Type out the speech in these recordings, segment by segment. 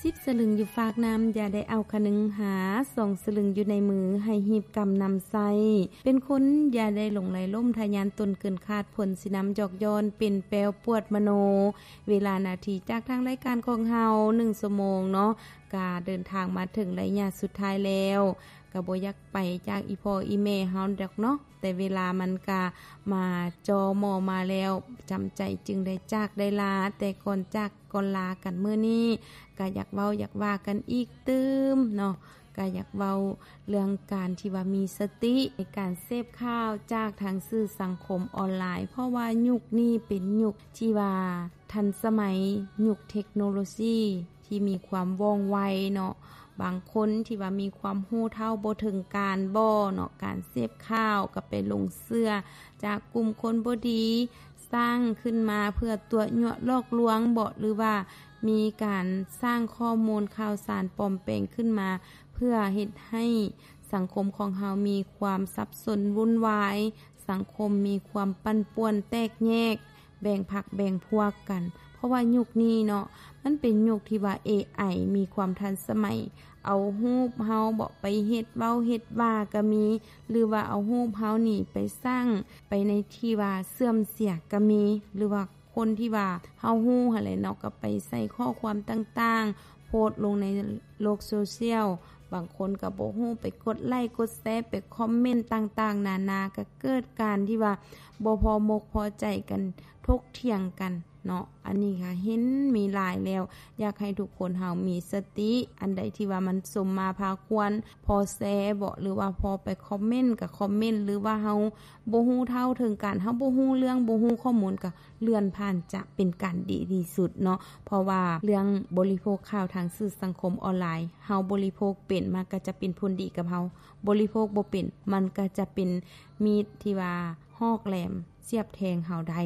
ສິບສະລຶງຢູ່ຟາກນ້ຳ ຢ່າໄດ້ເອົາຄະນຶງຫາ, ສອງສະລຶງຢູ່ໃນມື ໃຫ້ຮີບກຳນຳໃຊ້. ເປັນຄົນຢ່າໄດ້ຫຼົງໄຫຼລົ້ມທະຍານຕົນເກີນຄາດ, ຜົນຊິນຳຢອກຍ້ອນເປັນແປ້ວປວດມະໂນ. ເວລານາທີຈາກທາງລາຍການຂອງເຮົາ ໜຶ່ງຊົ່ວໂມງເນາະ ກະເດີນທາງມາເຖິງໄລຍະສຸດທ້າຍແລ້ວ. ກະບໍ່ຢາກໄປຈາກອີ່ພໍ່ອີ່ແມ່ເຮົາດອກເນາະ, ແຕ່ເວລາມັນກະມາຈໍ່ໝໍມາແລ້ວ, ຈຳໃຈຈຶ່ງໄດ້ຈາກໄດ້ລາ. ແຕ່ກ່ອນຈາກກ່ອນລາກັນມື້ນີ້ ກະຢາກເວົ້າຢາກວ່າກັນອີກຕື່ມເນາະ, ກະຢາກເວົ້າເລື່ອງການທີ່ວ່າມີສະຕິໃນການເສບຂ່າວຈາກທາງສື່ສັງຄົມອອນລາຍ, ເພາະວ່າຍຸກນີ້ເປັນຍຸກທີ່ວ່າທັນສະໄໝ, ຍຸກເທັກໂນໂລຊີ ທີ່ມີຄວາມວ່ອງໄວເນາະ. ບາງຄົນທີ່ວ່າມີຄວາມຮູ້ເທົ່າບໍ່ເຖິງການບໍເນາະ, ການເສບຂ່າວກໍໄປຫຼົງເຊື່ອຈາກກຸ່ມຄົນບໍ່ດີ ສ້າງຂຶ້ນມາເພື່ອຕົວະຍົວະຫຼອກລວງບໍ ຫຼືວ່າມີການສ້າງຂໍ້ມູນຂ່າວສານປອມແປງຂຶ້ນມາ ເພື່ອເຮັດໃຫ້ສັງຄົມຂອງເຮົາມີຄວາມສັບສົນວຸ່ນວາຍ, ສັງຄົມມີຄວາມປັ່ນປ່ວນແຕກແຍກ ແບ່ງພັກແບ່ງພວກກັນ. ເພາະວ່າຍຸກນີ້ເນາະ ມັນເປັນຍຸກທີ່ວ່າເອໄອມີຄວາມທັນສະໄໝ, ເອົາຮູບເຮົາເບາະໄປເຮັດເວົ້າເຮັດວ່າກະມີ ຫຼືວ່າເອົາຮູບເຮົານີ້ໄປສ້າງໄປໃນທີ່ວ່າເສື່ອມເສຍກະມີ ຫຼືວ່າຄົນທີ່ວ່າເຮົາຮູ້ຫັ້ນແຫຼະເນາະ ກະໄປໃສ່ຂໍ້ຄວາມຕ່າງໆ ໂພສລົງໃນໂລກໂຊຊຽວ. ບາງຄົນກະບໍ່ຮູ້ ໄປກົດໄລ້ກົດແຊ ໄປຄອມເມັນຕ່າງໆນານາ ກະເກີດການທີ່ວ່າບໍ່ພໍມົກພໍໃຈກັນ ຖົກຖຽງກັນເນາະ. ອັນນີ້ກະເຫັນມີຫຼາຍແລ້ວ, ຢາກໃຫ້ທຸກຄົນເຮົາມີສະຕິ. ອັນໃດທີ່ວ່າມັນສົມມາພາຄວນ ພໍແຊເບາະ ຫຼືວ່າພໍໄປຄອມເມັນກະຄອມເມັນ ຫຼືວ່າເຮົາບໍ່ຮູ້ເທົ່າເຖິງການ ເຮົາບໍ່ຮູ້ເລື່ອງ ບໍ່ຮູ້ຂໍ້ມູນ ກະເລື່ອນຜ່ານຈະເປັນການດີທີ່ສຸດເນາະ. ເພາະວ່າເລື່ອງບໍລິໂພກຂ່າວທາງສື່ສັງຄົມອອນລາຍ ເຮົາບໍລິໂພກເປັນ ມັນກະຈະເປັນຜົນດີກັບເຮົາ, ບໍລິໂພກບໍ່ເປັນ ມັນກະຈະເປັນມີດທີ່ວ່າຫອກແຫຼມສຽບແທງເຮົາໄດ້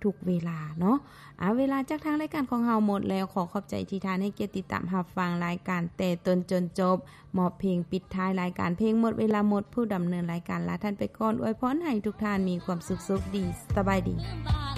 ທຸກເວລາເນາະ. ອາ ເວລາຈາກທາງລາຍການຂອງເຮົາໝົດແລ້ວ, ຂໍຂອບໃຈທີ່ທ່ານໃຫ້ກຽດຕິດຕາມຮັບຟັງລາຍການແຕ່ຕົ້ນຈົນຈົບ. ມອບເພງປິດທ້າຍລາຍການ ເພງໝົດເວລາໝົດ, ຜູ້ດຳເນີນລາຍການລາທ່ານໄປກ່ອນ, ອວຍພອນໃຫ້ທຸກທ່ານມີຄວາມສຸກໂຊກດີ, ສະບາຍດີ.